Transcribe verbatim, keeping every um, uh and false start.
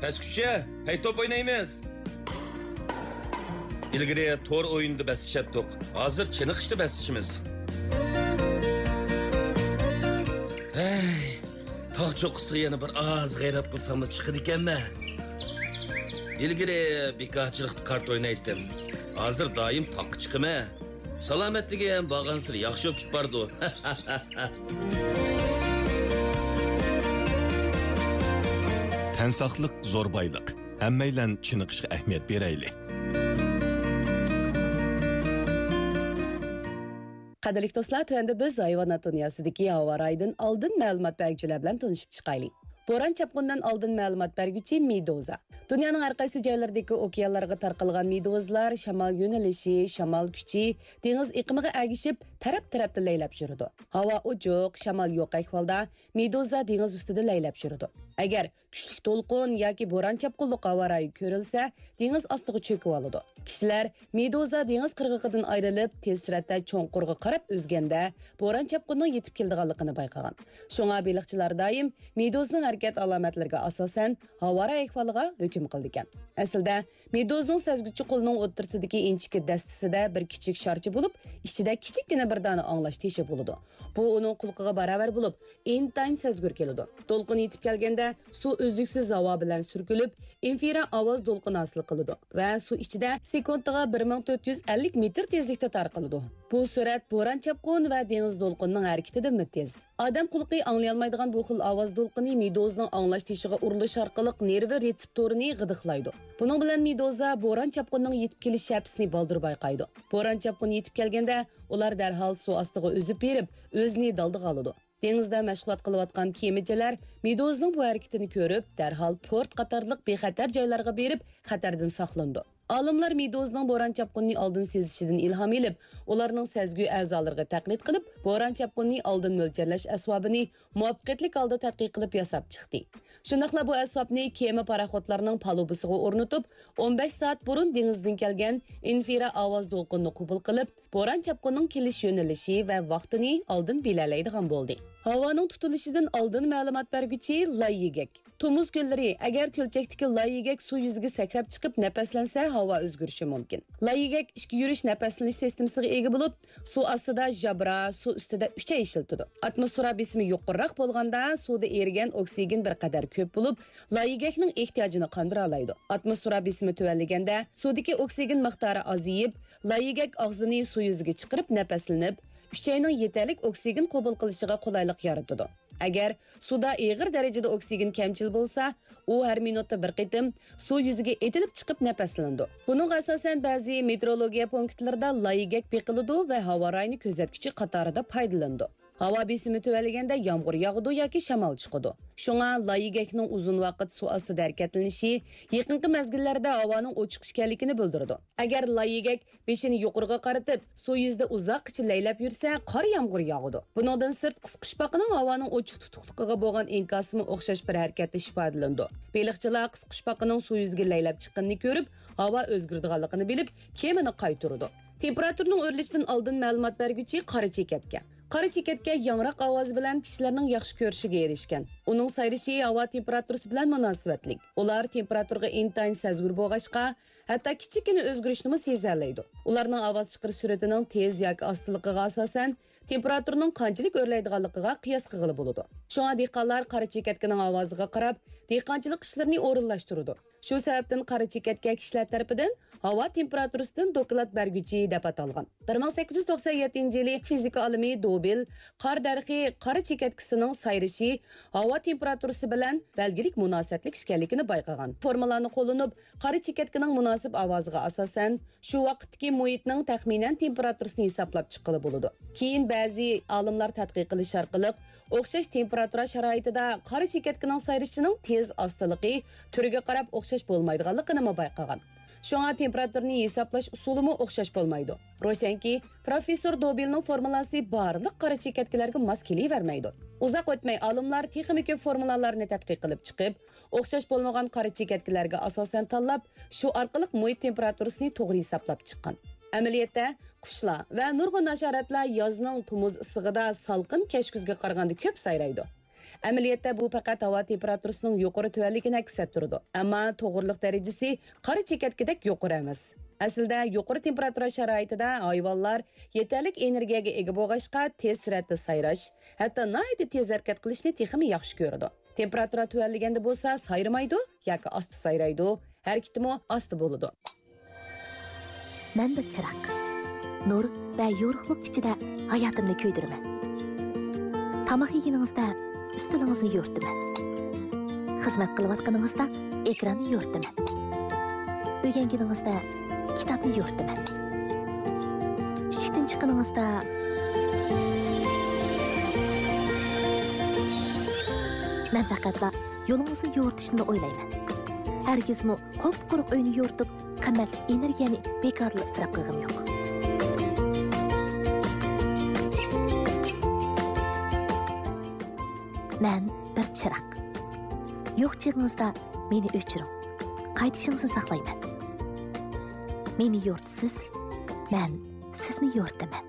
بەسكۈچە، پەيتوپ ئوينايمىز. ئىلگىرى تور ئويۇنىدا بەسلىشەتتۇق، ھازىر چېنىقىشتا بەسلىشىمىز. ھەي، تاغ چوققىسىغا يەنە بىر ئاز غەيرەت قىلساملا چىقىدىكەنمەن. ئىلگىرى بىكارچىلىقتا كارتا ئوينايتتىم، ھازىر دائىم تاغقا چىقىمەن. سالامەتلىكىم بارغانسېرى ياخشى بولۇپ كېتىپ بارىدۇ. تەن ساقلىق زور بايلىق. ھەممەيلەن چېنىقىشقا ئەھمىيەت بېرەيلى. قەدىرلىك دوستلار، تۆۋەندە بىز ھايۋانات دۇنياسىدىكى ھاۋا رايىدىن ئالدىن مەلۇمات بەرگۈچىلەر بىلەن تونۇشۇپ چىقايلى. بوران-چاپقۇندىن ئالدىن مەلۇمات بەرگۈچى مېدۇزا. دۇنيانىڭ ھەر قايسى جايلىرىدىكى ئوكيانلارغا تارقالغان مېدۇزىلار شامال يۆنىلىشى، شامال كۈچى، دېڭىز ئېقىمىغا ئەگىشىپ تەرەپ-تەرەپتە لەيلەپ يۈرىدۇ. ھاۋا ئوچۇق، شامال يوق ئەھۋالدا مېدۇزا دېڭىز ئۈستىدە لەيلەپ يۈرىدۇ. ئەگەر كۈچلۈك دولقۇن ياكى بوران-چاپقۇنلۇق ھاۋا رايى كۆرۈلسە، دېڭىز ئاستىغا چۆكۈۋالىدۇ. كىشىلەر مېدۇزا دېڭىز قىرغىقىدىن ئايرىلىپ، تېز سۈرئەتتە چوڭقۇرغا قاراپ ئۈزگەندە، بوران-چاپقۇننىڭ يېتىپ كېلىدىغانلىقىنى بايقىغان. شۇڭا بېلىقچىلار دائىم مېدۇزىنىڭ ھەرىكەت ئالامەتلىرىگە ئاساسەن، ھاۋا رايى ئەھۋالىغا ھۆكۈم قىلىدىكەن. ئەسلىدە، مېدۇزىنىڭ سەزگۈچى قولىنىڭ ئوتتۇرىسىدىكى ئىنچىكە دەستىسىدە بىر كىچىك شارچە بولۇپ، ئىچىدە كىچىككىنە بىر دانە ئاڭلاش تېشى بولىدۇ. بۇ ئۇنىڭ قۇلىقىغا باراۋەر بولۇپ، ئىنتايىن سەزگۈر كېلىدۇ. دولقۇن يېتىپ كەلگەندە، سۇ ئۈزلۈكسىز ھاۋا بىلەن سۈركىلىپ، ئىنفىرا ئاۋاز دولقۇنى ھاسىل قىلىدۇ ۋە سۇ ئىچىدە سېكۇنتىغا بىر مىڭ تۆت يۈز ئەللىك مېتىر تېزلىكتە تارقىلىدۇ. بۇ سۈرئەت بوران-چاپقۇن ۋە دېڭىز دولقۇنىنىڭ ھەرىكىتىدىنمۇ تېز. ئادەم قۇلىقى ئاڭلىيالمايدىغان بۇ خىل ئاۋاز دولقۇنى مېدۇزىنىڭ ئاڭلاش تېشىغا ئۇرۇلۇش ئارقىلىق نېرۋا رېتسېپتورىنى غىدىقلايدۇ. بۇنىڭ بىلەن مېدۇزا بوران-چاپقۇننىڭ يېتىپ كېلىش شەپىسىنى بالدۇر بايقايدۇ. بوران-چاپقۇن يېتىپ كەلگەندە، ئۇلار دەرھال سۇ ئاستىغا ئۈزۈپ بېرىپ، ئۆزىنى دالدىغا ئالىدۇ. دېڭىزدا مەشغۇلات قىلىۋاتقان كېمىچىلەر مېدۇزىنىڭ بۇ ھەرىكىتىنى كۆرۈپ، دەرھال پورت قاتارلىق بىخەتەر جايلارغا بېرىپ، خەتەردىن ساقلىنىدۇ. ئالىملار مېدۇزىنىڭ بوران-چاپقۇننى ئالدىن سېزىشىدىن ئىلھام ئېلىپ، ئۇلارنىڭ سەزگۈ ئەزالىرىغا تەقلىد قىلىپ، بوران-چاپقۇننى ئالدىن مۆلچەرلەش ئەسۋابىنى مۇۋەپپەقىيەتلىك ھالدا تەتقىق قىلىپ ياساپ چىقتى. شۇنداقلا بۇ ئەسۋابنى كېمە پاراخوتلارنىڭ پالۇبىسىغا ئورنىتىپ، ئون بەش سائەت بۇرۇن دېڭىزدىن كەلگەن ئىنفىرا ئاۋاز دولقۇنىنى قوبۇل قىلىپ، بوران-چاپقۇننىڭ كېلىش يۆنىلىشى ۋە ۋاقتىنى ئالدىن بىلەلەيدىغان بولدى. ھاۋانىڭ تۇتۇلۇشىدىن ئالدىن مەلۇمات بەرگۈچى لاي يىگەك. تومۇز كۈنلىرى ئەگەر كۆلچەكتىكى لاي يىگەك سۇ يۈزىگە سەكرەپ چىقىپ نەپەسلەنسە، ھاۋا ئۆزگىرىشى مۇمكىن. لاي يىگەك ئىچكە يۈرۈش نەپەسلىنىش سىستېمىسىغا ئىگە بولۇپ، سۇ ئاستىدا ژابرا، سۇ ئۈستىدە ئۈچەي ئىشلىتىدۇ. ئاتموسفېرا بېسىمى يۇقىرىراق بولغاندا، سۇدا ئېرىگەن ئوكسىگېن بىر قەدەر كۆپ بولۇپ، لاي يىگەكنىڭ ئېھتىياجىنى قاندۇرالايدۇ. ئاتموسفېرا بېسىمى تۆۋەنلىگەندە، سۇدىكى ئوكسىگېن مىقدارى ئازىيىپ، لاي يىگەك ئاغزىنى سۇ يۈزىگە چىقىرىپ نەپەسلىنىپ، ئۈچەينىڭ يېتەرلىك ئوكسىگېن قوبۇل قىلىشىغا قولايلىق يارىتىدۇ. ئەگەر سۇدا ئېغىر دەرىجىدە ئوكسىگېن كەمچىل بولسا، ئۇ ھەر مىنۇتتا بىر قېتىم سۇ يۈزىگە ئېتىلىپ چىقىپ نەپەسلىنىدۇ. بۇنىڭغا ئاساسەن، بەزى مېتېئورولوگىيە پونكىتلىرىدا لاي يىگەك بېقىلىدۇ ۋە ھاۋا رايىنى كۆزەتكۈچى قاتارىدا پايدىلىنىدۇ. ھاۋا بېسىمى تۆۋەنلىگەندە يامغۇر ياغىدۇ ياكى شامال چىقىدۇ. شۇڭا لاي يىگەكنىڭ ئۇزۇن ۋاقىت سۇ ئاستىدا ھەرىكەتلىنىشى يېقىنقى مەزگىللەردە ھاۋانىڭ ئوچۇق ئىكەنلىكىنى بىلدۈرىدۇ. ئەگەر لاي يىگەك بېشىنى يۇقىرىغا قارىتىپ، سۇ يۈزىدە ئۇزاققىچە لەيلەپ يۈرسە، قار يامغۇر ياغىدۇ. بۇنىڭدىن سىرت، قىسقۇچپاقىنىڭ ھاۋانىڭ ئوچۇق تۇتۇقلۇقىغا بولغان ئىنكاسىمۇ ئوخشاش بىر ھەرىكەتلىشىش ئىپادىلىنىدۇ. بېلىقچىلار قىسقۇچپاقىنىڭ سۇ يۈزىگە لەيلەپ چىققىنىنى كۆرۈپ، ھاۋا ئۆزگىرىدىغانلىقىنى بىلىپ، كېمىنى قايتۇرىدۇ. تېمپېراتۇرىنىڭ ئۆرلىشىدىن ئالدىن مەلۇمات بەرگۈچى قارا چېكەتكە. قارا چېكەتكە ياڭراق ئاۋازى بىلەن كىشىلەرنىڭ ياخشى كۆرۈشىگە ئېرىشكەن. ئۇنىڭ سايرىشى ھاۋا تېمپېراتۇرىسى بىلەن مۇناسىۋەتلىك. ئۇلار تېمپېراتۇرىغا ئىنتايىن سەزگۈر بولغاچقا، ھەتتا كىچىككىنە ئۆزگىرىشنىمۇ سېزەلەيدۇ. ئۇلارنىڭ ئاۋاز چىقىرىش سۈرئىتىنىڭ تېز ياكى ئاستىلىقىغا ئاساسەن، تېمپېراتۇرىنىڭ قانچىلىك ئۆرلەيدىغانلىقىغا قىياس قىلغىلى بولىدۇ. شۇڭا دېھقانلار قارا چېكەتكىنىڭ ئاۋازىغا قاراپ، دېھقانچىلىق ئىشلىرىنى ئورۇنلاشتۇرىدۇ. شۇ سەۋەبتىن قارا چېكەتكە كىشىلەر تەرىپىدىن ھاۋا تېمپېراتۇرىسىدىن دوكلات بەرگۈچى دەپ ئاتالغان. بىر مىڭ سەككىز يۈز توقسەن يەتتىنچى يىلى فىزىكا ئالىمى دوبىل قار دەرىخى قارا چېكەتكىسىنىڭ سايرىشى ھاۋا تېمپېراتۇرىسى بىلەن بەلگىلىك مۇناسىۋەتلىك ئىكەنلىكىنى بايقىغان. فورمۇلانى قوللىنىپ، قارا چېكەتكىنىڭ مۇناسىپ ئاۋازىغا ئاساسەن، شۇ ۋاقىتتىكى مۇھىتنىڭ تەخمىنەن تېمپېراتۇرىسىنى ھېسابلاپ چىققىلى بولىدۇ. كېيىن بەزى ئالىملار تەتقىق قىلىش ئارقىلىق، ئوخشاش تېمپېراتۇرا شارائىتىدا قارا چېكەتكىنىڭ سايرىشىنىڭ تېز ئاستىلىقى، تۈرىگە قاراپ ئوخشاش بولمايدىغانلىقىنىمۇ بايقىغان. شۇڭا تېمپېراتۇرىنى ھېسابلاش ئۇسۇلىمۇ ئوخشاش بولمايدۇ. روشەنكى، پروفېسسور دوبىلنىڭ فورمۇلاسى بارلىق قارا چېكەتكىلەرگە ماس كېلىۋەرمەيدۇ. ئۇزاق ئۆتمەي ئالىملار تېخىمۇ كۆپ فورمۇلالارنى تەتقىق قىلىپ چىقىپ، ئوخشاش بولمىغان قارا چېكەتكىلەرگە ئاساسەن تاللاپ، شۇ ئارقىلىق مۇھىت تېمپېراتۇرىسىنى توغرا ھېسابلاپ چىققان. ئەمەلىيەتتە، قۇشلار ۋە نۇرغۇن ھاشاراتلار يازنىڭ تومۇز ئىسسىقىدا سالقىن كەچكۈزگە قارىغاندا كۆپ سايرايدۇ. ئەمەلىيەتتە بۇ پەقەت ھاۋا تېمپېراتۇرىسىنىڭ يۇقىرى تۆۋەنلىكىنى ئەكس ئەتتۈرىدۇ، ئەمما توغرىلىق دەرىجىسى قارا چېكەتكىدەك يۇقىرى ئەمەس. ئەسلىدە يۇقىرى تېمپېراتۇرا شارائىتىدا ھايۋانلار يېتەرلىك ئېنېرگىيەگە ئىگە بولغاچقا، تېز سۈرئەتتە سايراش، ھەتتا ناھايىتى تېز ھەرىكەت قىلىشنى تېخىمۇ ياخشى كۆرىدۇ. تېمپېراتۇرا تۆۋەنلىگەندە بولسا سايرىمايدۇ ياكى ئاستا سايرايدۇ، ھەرىكىتىمۇ ئاستا بولىدۇ. مەن بىر چىراغ. نۇر ۋە يورۇقلۇق ئىچىدە ھاياتىمنى كۆيدۈرىمەن. تاماق يېگىنىڭىزدە ئۈستىلىڭىزنى يورۇتىمەن. خىزمەت قىلىۋاتقىنىڭىزدا ئېكراننى يورۇتىمەن. ئۆگەنگىنىڭىزدە كىتابنى يورۇتىمەن. ئىشىكتىن چىققىنىڭىزدا مەن پەقەتلا يولىڭىزنى يورۇتۇشنىلا ئويلايمەن. ھەرگىزمۇ قۇپقۇرۇق ئۆينى يورۇتۇپ، قىممەتلىك ئېنېرگىيەنى بىكارلا ئىسراپ قىلغۇم يوق. مەن بىر چىراغ. يوق چېغىڭىزدا مېنى ئۆچۈرۈڭ. قايتىشىڭىزنى ساقلايمەن. مېنى يورۇتىسىز، مەن سىزنى يورۇتىمەن.